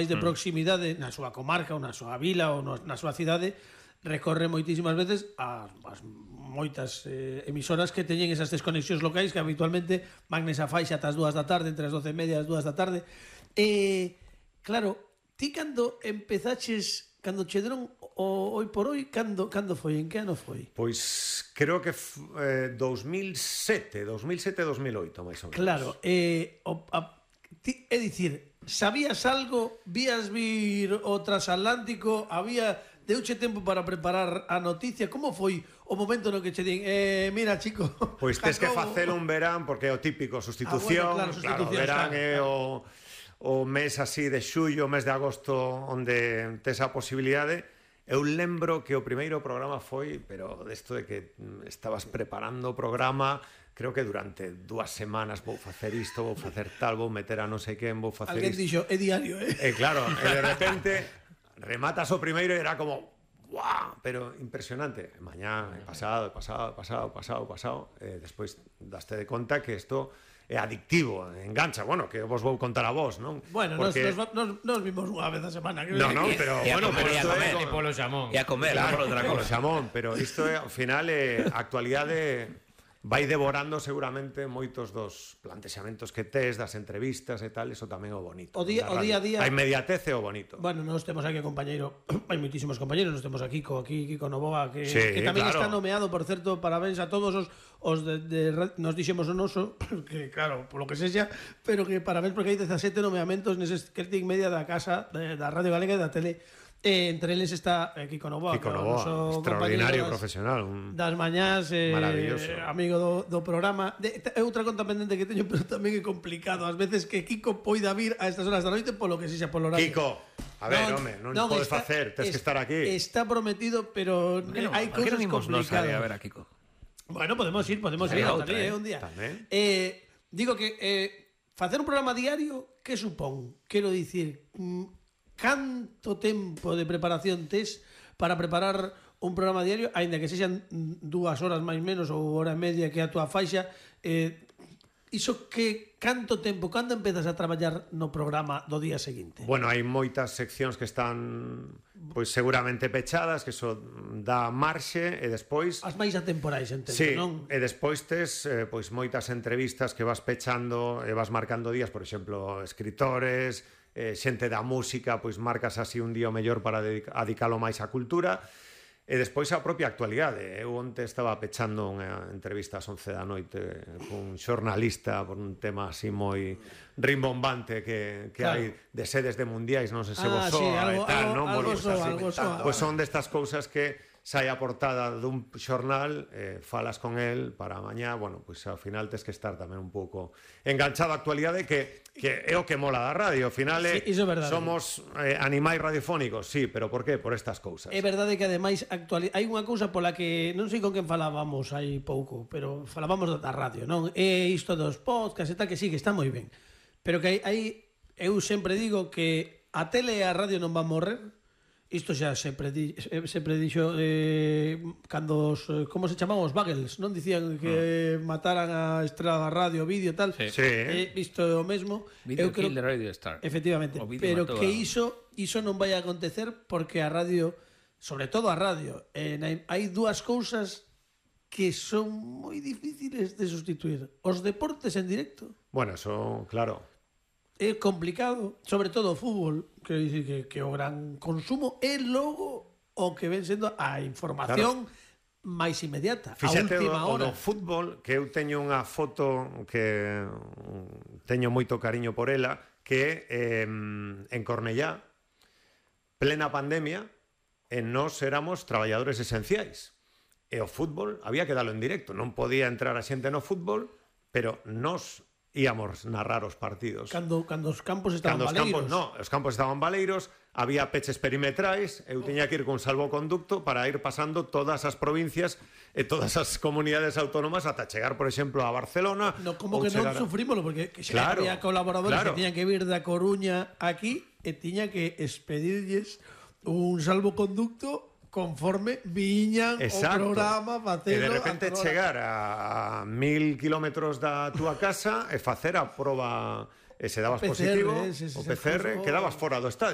de proximidade na súa comarca ou na súa vila ou na súa cidade recorre moitísimas veces as moitas emisoras que teñen esas desconexións locais que habitualmente van nesa faixa ata as 2 da tarde, entre as 12:30 e as 2 da tarde. Claro, ti cando empezaches, cando che deron o Hoy por Hoy, cando foi? En que ano foi? Pois creo que 2007, 2008, máis ou menos. Claro, é dicir, sabías algo, vías vir o transatlántico, deuche tempo para preparar a noticia, como foi o momento no que che din, mira, chico, pois tes que facelo un verán, porque é o típico sustitución, bueno, claro, verán é o mes así de xullo, o mes de agosto, onde tes a posibilidade. Eu lembro que o primeiro programa foi, pero desto de que estabas preparando o programa, creo que durante 2 semanas vou facer isto, vou facer tal, vou meter a non sei quen, vou facer alguén dixo, é diario, claro, e de repente rematas o primeiro e era como ¡guau! Pero impresionante. Mañá, pasado, despois daste de conta que isto é adictivo, engancha, bueno, que vos vou contar a vos, non? Bueno, porque nos vimos unha vez a semana. No, pero bueno, pero isto é polo xamón. E a comer, claro, por outra polo cosa. xamón, pero isto é, ao final, a actualidade vai devorando seguramente moitos dos plantexamentos que tes, das entrevistas e tal, eso tamén é o bonito. O día a día. A inmediatez é o bonito. Bueno, nós temos aquí a compañeiro, hai moitísimos compañeros, nós temos aquí Kiko Novoa, que tamén claro. está nomeado, por certo, parabéns a todos os nos dixemos o noso, que claro, polo que sexa, pero que parabéns porque hai 17 nomeamentos nese Celtic Media da casa, da Radio Galega e da Tele. Entre eles está Kiko Novoa, extraordinario profesional, das mañás, maravilloso, amigo do programa. É outra conta pendente que teño, pero tamén é complicado ás veces que Kiko poida vir a estas horas da noite polo que sexa polo horario. Kiko, a ver, non podes facer, tens que estar aquí. Está prometido, pero hai cousas complicadas. A ver a Kiko. Bueno, podemos ir un día. Digo que facer un programa diario, que supón? Quero dicir, canto tempo de preparación tes para preparar un programa diario, aínda que sexan 2 horas máis menos ou hora e media que a túa faixa, iso que canto tempo, cando empezas a traballar no programa do día seguinte? Bueno, hai moitas seccións que están pois seguramente pechadas, que eso dá marxe, e despois as máis atemporais, entendo, sí, non? E despois tes pois moitas entrevistas que vas pechando e vas marcando días, por exemplo, escritores, xente da música, pois marcas así un día o mellor para dedicalo máis á cultura, e despois a propia actualidade. Eu onte estaba pechando unha entrevista ás 11 da noite cun xornalista por un tema así moi rimbombante que hai de sedes de mundiais, non sei se vos soa e tal, non? Algo soa. Pois son destas cousas que sai a portada dun xornal, falas con el para mañá, bueno, pois ao final tes que estar tamén un pouco enganchado á actualidade, que é o que mola da radio. Ao final somos animais radiofónicos, sí, pero por qué? Por estas cousas. É verdade que ademais hai unha cousa pola que non sei con quen falábamos hai pouco, pero falábamos da radio, non? É isto dos podcasts e tal, que sí, que está moi ben, pero que eu sempre digo que a tele e a radio non van morrer. Isto xa se predixo cando como se chamaban os Bagels, non dicían que mataran a estrela da radio, vídeo e tal. Isto é o mesmo. Video kill the radio star. Efectivamente, pero que iso non vai a acontecer porque a radio, sobre todo a radio, hai 2 cousas que son moi difíciles de sustituir. Os deportes en directo. Bueno, eso, claro. É complicado, sobre todo o fútbol, quero dicir que o gran consumo é logo o que ven sendo a información máis inmediata, fíxate, a última hora. O do fútbol, que eu teño unha foto que teño moito cariño por ela, que en Cornellá, plena pandemia, e nós éramos traballadores esenciais. E o fútbol había que darlo en directo, non podía entrar a xente no fútbol, pero nós íamos narrar os partidos. Cando os campos estaban baleiros. Os campos estaban baleiros, había peches perimetrais, eu tiña que ir con salvoconducto para ir pasando todas as provincias e todas as comunidades autónomas ata chegar, por exemplo, a Barcelona. Como que non sufrimos, porque xa había colaboradores que tiñan que vir da Coruña aquí e tiña que expedirlles un salvoconducto conforme viñan o programa, facelo. E de repente chegar a 1000 kilómetros da túa casa e facer a proba e se dabas positivo, o PCR, quedabas fora do estadio.